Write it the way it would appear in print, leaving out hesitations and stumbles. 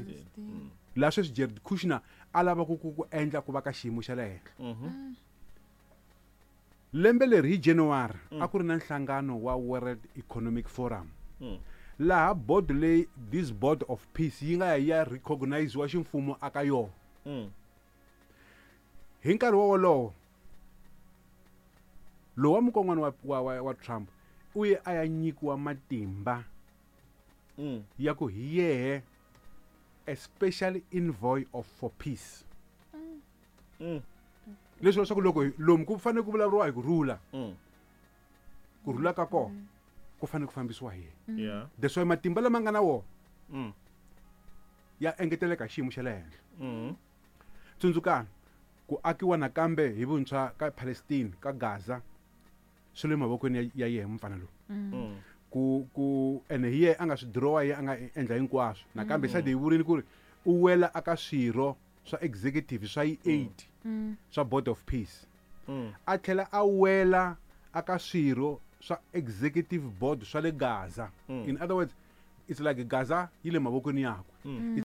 Palestine. Laha sweswi Jared Kushner a lava ku endla ku va ka xiyimo xa le henhla. Lembe leri hi January a ku ri na nhlangano wa World Economic Forum, laha board leyi, this Board of Peace, yi nga ya yi ya recogniziwa ximfumo aka yona. Hi nkarhi wolowo, lowa mukon'wana wa Trump u ye a ya nyikiwa matimba ya ku hi yehe a special envoy of for peace. Leswi leswaku loko lomu ku fanele ku vulavuriwa hi ku rhula, ku rhula ka kona ku fanele ku fambisiwa hi yena. That's why matimba lama nga na wona ya engeteleka hi xiyimo xa le henhla. Tsundzukani ku akiwa nakambe hi vuntshwa ka Palestine, ka Gaza, swi le mavokweni ya yehe mufana lowu. Ku ene hi yehe a nga swi dirowa, ye a nga endla hinkwaswo. Nakambe side hi vurini ku ri u wela aka swirho swa executive swa yi 8 swa Board of Peace, a tlhela a wela aka swirho swa executive board swa le Gaza. In other words, it's like Gaza yi le mavokweni yakwe.